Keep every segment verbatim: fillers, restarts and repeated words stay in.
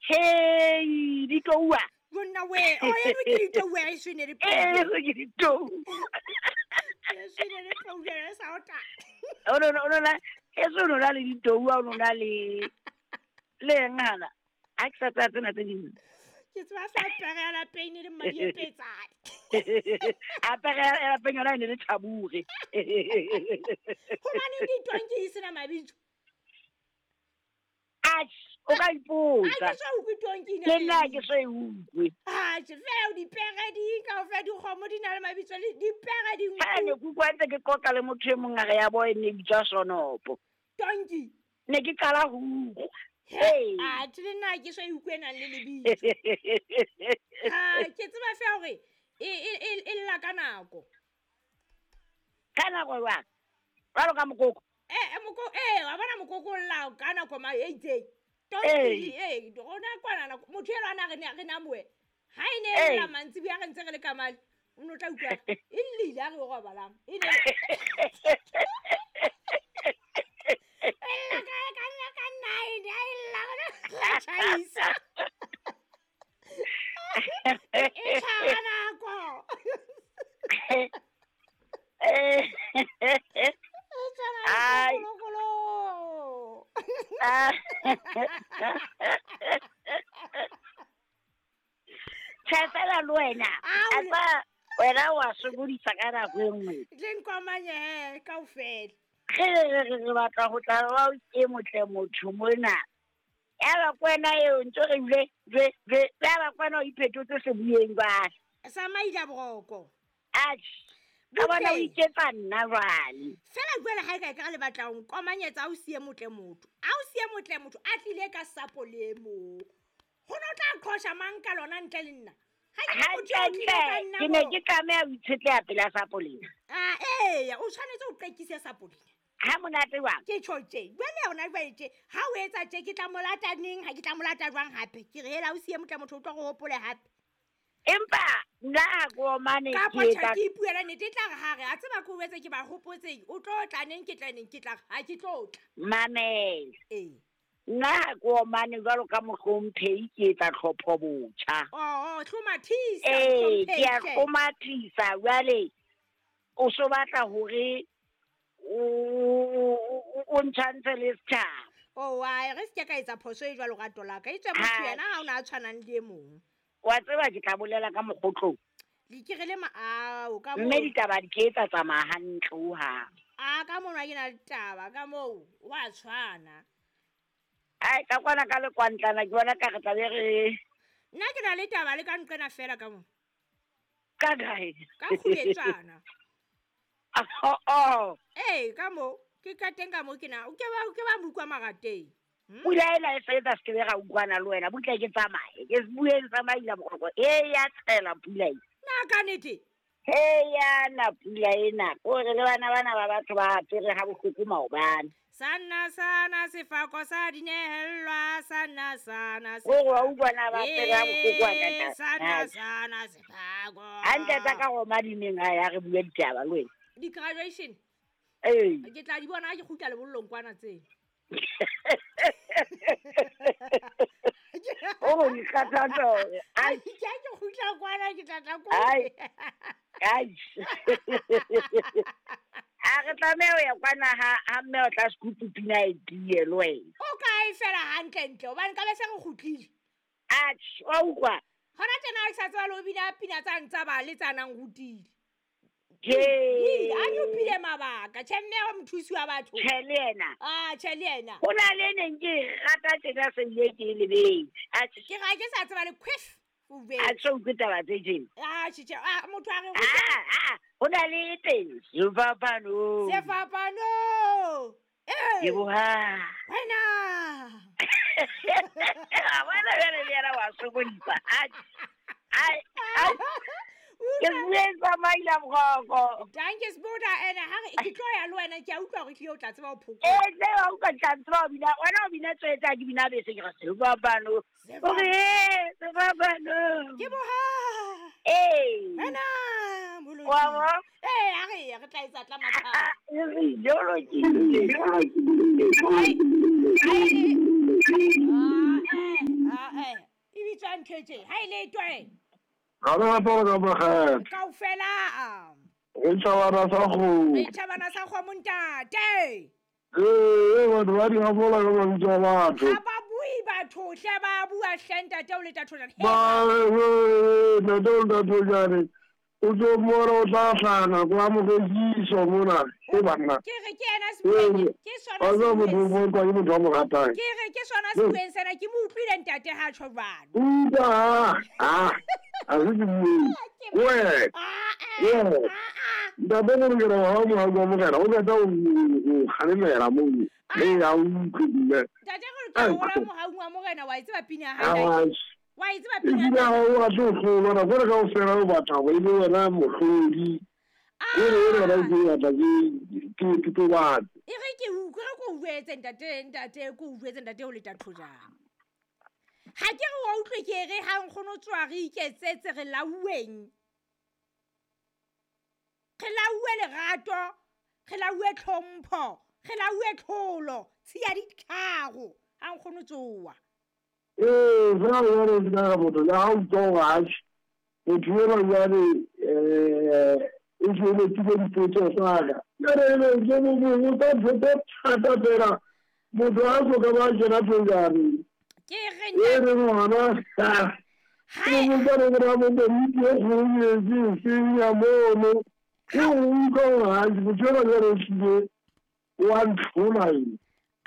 Hei, ditoua. Yona we, o e re ke ditoua e sene re Eh, re ke ditou. E sene re pule re sa ota. O no no no, e so no na le ditoua o no na le le ngana. A ke sa tsaya tsena tse ding. Ke tseba fa pere ya lapeng e le mmadi e petsane. A pere ya lapeng yona e ne le thabure. Hobaneng ditonki e sena mabitso? Atjhe, o ka ipotsa. A ke so utlwe tonki ena. Le nna ke so e utlwe. Atjhe, fela dipere di kaofela dikgomo di na le mabitso le dipere di nku. Ha ne ke utlwa ntse ke qoqa le motho e mong a re ya bo e ne bitswa Sonopo. Tonki. Ne ke qala ho utlwa. Hey. Atjhe, le nna ke so e utlwe e nang le lebitso. Ha, ke tseba fela hore e e e lla ka nako. Ka nako jwang? Jwalo ka mokoko. Eh, moko eh wa bona mokoko o lla ka nako ma e itseng. Tonki eh rona kwana nako motho elo ana re ne re na moe. Ha e ne e lla mantsibuya re ntse re le ka mali. O no tla utlwa e llile ha re o robalang. E ne e lla ka ka nna ka nine ha e lla rona tjhaisa. E tshwara nako. Eh. Ai. Tjhe fela le wena. A tsa wena wa sokodisa ka nako e nngwe. Le nkomanye he kaofela. Re re re batla ho tla ba ke motle motho mona. Ya ba kwena eo ntse re bile jwe jwe ya ba kwena o iphetotse sebuyeng jwale. Sa maila boroko. Atjhe. Ka bona o iketsa nna jwale. Fela jwale ha e ka e ka le batla ho nkomanyetsa a o siye motle motho. A o siye motle motho a tlile ka sapo le mo. Ho no tla qhosha mang ka lona ntle le nna. Ha ke motho o tlile ka nna. Ke ne ke tlameha ho itshetleha pela sapo lena. Ah eh, o tshwanetse o qekise sapo lena. Ha monate jwang? Ke tjho tje. Jwale hona jwale tje, ha o etsa tje ke tla molata neng, ha ke tla molata jwang hape. Ke re hela o siye motle motho o tlo go hopole hape. Empa nna ha ke omane ke etsa ka ke ipuela nnete e tla re ha re a tseba ke o etse ke ba hopotseng o tlo tla neng ke tla neng ke tla ha ke tlo tla. Mamela. Eh. Nna ha ke omane jwalo ka mohlomphehi ke etsa tlhopho botjha. Oh, hlomathisa. Eh, ke a hlomathisa jwale o so batla hore o o ntshantse le setjhaba. Oh, wa re se ke ka etsa phoso e jwalo ka tola ka itswe motho yena ha ona a tshwanang le e mong. Wa tseba ke tla bolela ka mokgotlong. Di ke re le ma ao ka mo. Mme ditaba di ke etsa tsamaya hantle ho hang. A ka mona ke na le taba ka moo wa tshwana. Ai ka kwana ka le kwantlana ke bona ka re tla be re nna ke na le taba le ka nqena fela ka mo. Ka kae? Ka kgubetsana. Oh oh. Eh ka mo ke ka teng ka mo ke na o ke ba ke ba mukwa marateng. Pula ena e fetsa se ke be ra utlwana le wena butle ke tsamaye ke se bueng tsamaila boroko e ya tshela pula e na ka nete he ya na pula ena o re le bana bana ba batho ba apere ha bohloko maobane sana sana sefako sa dinehellwa sana sana o re wa utlwana ba apere ha bohloko wa ka sana sana sefako hantle tsa ka roma dineng ha ya re bue ditaba le wena di graduation eh ke tla di bona ha ke kgutla lebollong kwana tsena. Oh, ni khathatso. Ai, ke ke kgutla kwana ke tla tla ko. Ai. Ai. A re tlameha ho ya kwana ha ha mme o tla sekupu pina e tie le wena. O kae fela hantle ntle hobane ka be se re kgutlile. Atjhe, wa utlwa. Hona tjena ha ke sa tseba le ho bina pina tsa ntsa ba le tsa nang rutile. Ke a nyopile mabaka tjhe mme wa mothusi wa batho. Tjhe le yena. Ah tjhe le yena. Ho na le neng ke rata tjena se ile ke lebetse. Atjhe ke ga ke sa tseba le quiff. A tso utlwe taba tse tjena. Ah tjhe ah motho a re ah ah ho na le teng sefapano. Sefapano. Eh. Ke boha. Wena. Wena jwale le yena wa sokodisa. Atjhe. Ai ai. Ke buetsa maila boroko. Danke Sbuda ene ha re ke tlo ya le wena ke a utlwa hore tlile o tla tseba ho phokola. Eh tle wa utlwa tla tseba ho bina wena o bina tswetsa ke bina bese ke re sefapano. O re sefapano. Ke boha. Eh. Wena moloki. Wa bo? Eh a re re tla etsa tla matha. E re jolo ke. Ai. Ai. Ah eh ah eh utlwa ntho e tje ha e le twe Ga le rata ka makgetho. Kaofela. Re tjhabana sa kgomo. Re tjhabana sa kgomo ntate. Ee, batho ba di hafola ka mabitso a batho. Ha ba bue batho hle ba bua hle ntate o le Thathojane. Ba ntate o le Thathojane. O tlo mmona o tla hlana kwa morekiso mona. E banna. Ke re ke yena sebueng ke sona sebueng. Ke motho wa mo ratang. Ke re ke sona sebueng sena ke mo utlwile ntate ha tjho jwalo. Utlwa ha. A se ke bue. We. Ah ah. Ntate o re ha mo ha mo morena o qeta o kgalemela mo. Le ya o utlwile. Ntate re ke hola mohau wa morena wa e tseba pina ya hae. Wa e tseba pina. Ebile ha o batle ho hlolwa nako ena kaofela o batla hore ebe wena mohlodi. E re e re ke batla ke ke totobale. E re ke utlwe re ko o jwetse ntate ntate ko o jwetse ntate o le Thathojane. Ha ke re wa utlwe ke re ha nkgono tswa re iketsetse re lauweng. Re lauwe lerato, re lauwe tlhompho, re lauwe tlholo, tshiya ditharo ha nkgono tsoa. Ee, fela jwale ke ka motho le ha o utlwa hore atjhe motho enwa jwale eh o tshwanetse dipotso tsa ka. Jwale ebe ke mo botsa ntho tse thata fela motho ha so ka ba kena Thojane. Ke re E re ngwana ha ke mo botsa re mo komiti e kgolo e seng ya mono. Ke o utlwa hore atjhe motho enwa jwale o hlile wa ntlhola ena.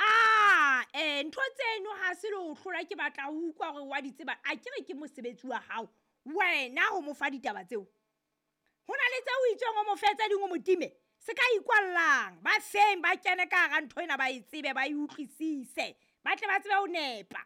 Ah, eh ntho tseno ha se le ho hlola ke batla ho utlwa hore wa di tseba. A ke re ke mosebetsi wa hao wena ho mo fa ditaba tseo. Ho na le tseo o itseng o mo fe tse ding o mo time. Se ka ikwallang ba feng ba kene ka hara ntho ena ba e tsebe ba e utlwisise. Ba tle ba tsebe ho nepa.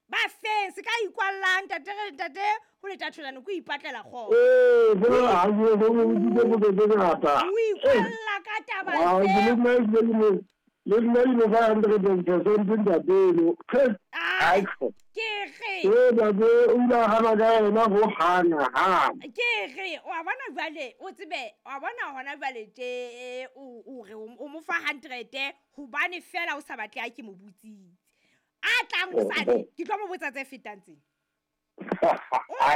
Ba feng se ka ikwallang ntate re ntate ho le Thathojane ko ipatlela kgotso. Ee, fela ha ke go mo botsa potso tse ngata. O ikwalla ka taba tseo. Le nna ke mo fa hundred and percent ntate eno. Ke re. Ee, ntate o ile a hana ka yena ho hana hana. Ke re wa bona jwale o tsebe wa bona hona jwale tje o o re o mo fa hundred hobane fela o sa batle a ke mo botsitse. A tlang hosane ke tlo mo botsa tse fetang tsena. A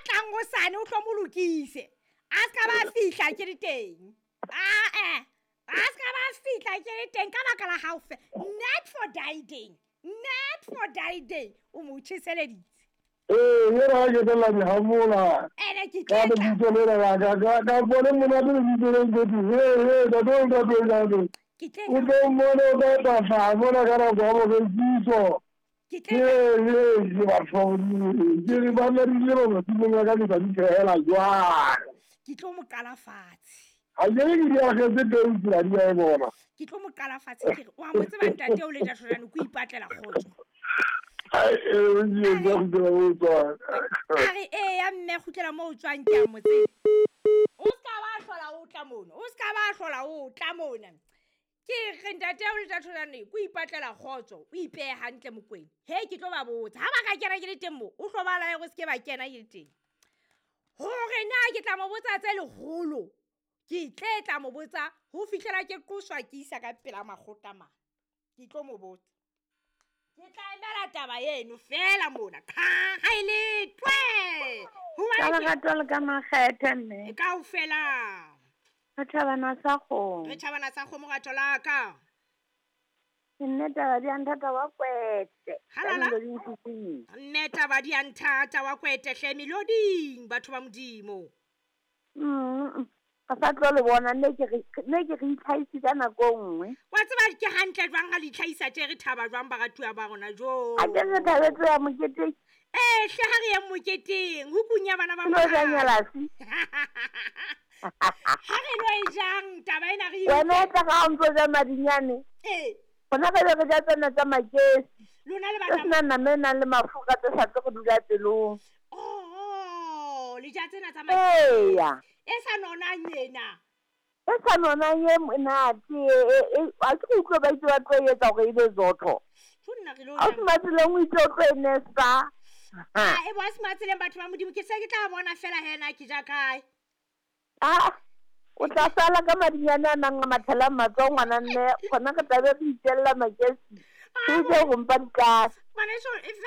tlang hosane o tlo mo lokise. A ska ba fihla ke le teng. Ah eh. A ska ba fihla ke le teng ka baka la hao fe. Not for dieting. Not for dieting. O mo tjheseleditse. Ee, yena ha ke tla di hamola. Ene ke Ka tla. lebitso lena la ka ka ka bone monate lebitso le ntate. He he ntate o Thathojane. Ke tle O tlo mmona o tla tla hlaha mona ka nako ya morekiso. Ke tle He he ke batho ke re ba nna di le masimong a ka ke tla di phehela jwang. Ke tlo mo qala fatshe. Ha ke re ke di akgetse teng tsela di a e bona. Ke tlo mo qala fatshe ke re wa mo tseba ntate o le Thathojane ko ipatlela kgotso. Ai e ke ke kgutlela mo o tswang. A re ee ya mme kgutlela mo o tswang ke a mo tseba. O ska ba hlola o tla mona. O ska ba hlola o tla mona. Ke re ntate o le Thathojane ko ipatlela kgotso o ipehe hantle Mokwena. He ke tlo ba botsa ha ba ka kena ke le teng mo o hlo ba lae go se ke ba kena ke le teng. Hore na ke tla mo botsa tse leholo. Ke tle tla mo botsa ho fihlela ke qoswa ke isa ka pela makgotla mane. Ke tlo mo botsa. Ke tla emela taba eno fela mona. Qha ha e le twe. Ka lerato le ka makgethe mme. Kaofela. Re tjhabana sa kgomo. Re tjhabana sa kgomo rato la ka. Nne taba di a nthata wa kwete. Halala. Nne taba di a nthata wa kwete hle meloding batho ba Modimo. Mm. Ka sa tlo le bona nne ke re nne ke re itlhahise ka nako e nngwe. Wa tseba ke hantle jwang ha le itlhahisa tje re thaba jwang baratuwa ba rona jo. A ke re thabetse ya moketeng. Eh hle ha re ye moketeng ho kunya bana ba Lo ja nyalasi. Ha re lo e jang taba ena re Wena e tla ga o ntso ja madinyane. Eh. Rona ka re ja tsena tsa makesi. Lona le Tse batla senang nama e nang le mafura tse sa tlo go dula pelong. Oh, le ja tsena tsa makesi. Eya. E sa nonang ena. E sa nonang e monate e e a ke utlwe ba itse ba tlo e etsa hore e be zotho. Tjo nna re lo Ha o se matseleng o itse o tlo e nesa. Ah, e bo a se matseleng batho ba Modimo ke se ke tla bona fela hena ke ja kae. Ah, o tla sala ka madinyane a nang a mathela matsoho ngwana mme gona re tlabe re itjella makesi. Ke utlwe ho mpa ditlase. Ngwaneso, e fela